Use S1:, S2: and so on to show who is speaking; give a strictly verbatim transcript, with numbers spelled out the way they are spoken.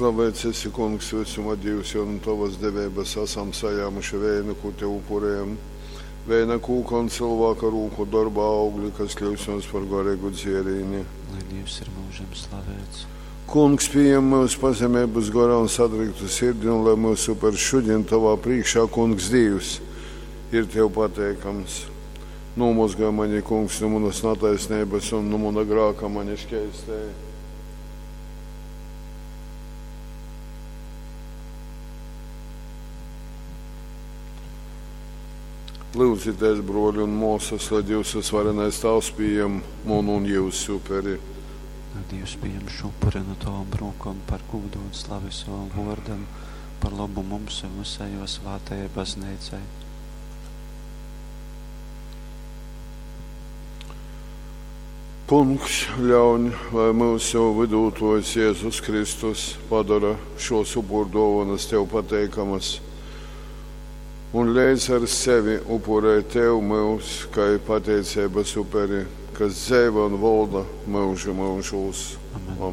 S1: Slaveits esi, Kungs, vysuma Dīvs, jo nu tovas deveibas asam sajāmuši veinu, kū tev upurejam. Veina kūka un cylvāka rūku dorba augli, kas kļyust mums par gareigu dzierīni.
S2: Lai Dīvs ir myužam slaveits.
S1: Kungs, pījem myus pazemeibas gorā un sadryktu sirdi, un lai myusu upers šudin tovā prīškā, Kungs Dīvs, ir tev pateikams. Nūmozgoj mani, Kungs, nu munas nataisneibas un nu muna grāka mani škeistej. Lūdzieties, broļi un māsas, lai Dievs visvarenais Tavs pieņem manu un jūsu uperi.
S2: Lai Dievs pieņem šo upuri no tavām rokām par gūdu un slavi savam vārdam, par labu mums un visai jo svētajai baznīcai.
S1: Kungs ļauj, lai mūsu vidūtājs Jēzus Kristus padara šos upurdāvanas tev pateikamas un līdz ar sevi upurē tev mūs, kā pateicības uperi, kas dzeivo un valda mūžu mūžos.
S2: Amen.
S1: Amen.